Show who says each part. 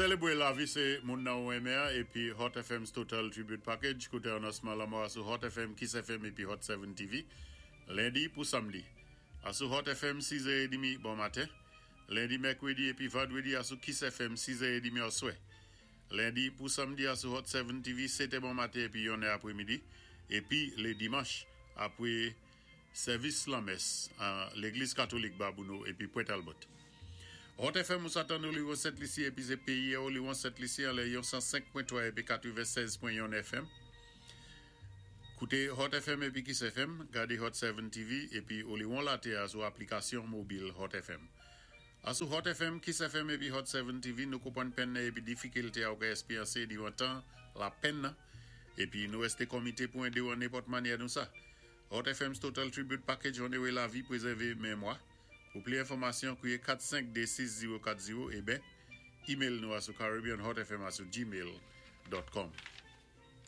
Speaker 1: Sélébwé lavi sé moun nan ou renmen épi Hot FM's Total Tribute Package. Kouté anonsman lanmò sou Hot FM, Kiss FM épi Hot 7 TV. Lendi pou samdi. Asou Hot FM 6h30 bon maten. Lendi, mèkwédi épi vandwédi asou Kiss FM 6h30 oswè. Lendi pou samdi asou Hot 7 TV 7 bon maten épi 1 apwémidi. Épi lé dimanch apwé sèvis lanmès an Légliz Katolik Babouno épi Pwent Albert. Hot FM ou sa tann ou li won Sent Lisi épi sé péyi ou li won Sent Lisi anlè yon 105.3 épi 96.1 FM. Kouté Hot FM épi Kiss FM, gadé Hot 7 TV épi ou li won laté a sou aplikasyon mobil Hot FM. Asou Hot FM, Kiss FM épi Hot 7 TV nou konpwann penn nan épi difikilte a ou ka èspéryansé diwan tan lapenn nan épi nou èsté komité pou édé ou an nenpòt manyè nou sa. Hot FM's Total Tribute Package onoré lavi, pwézèvé mémwa. Pou pli enfòmasyon, kwiyé 4526040 é ben email nou asou caribbeanhotfm@gmail.com.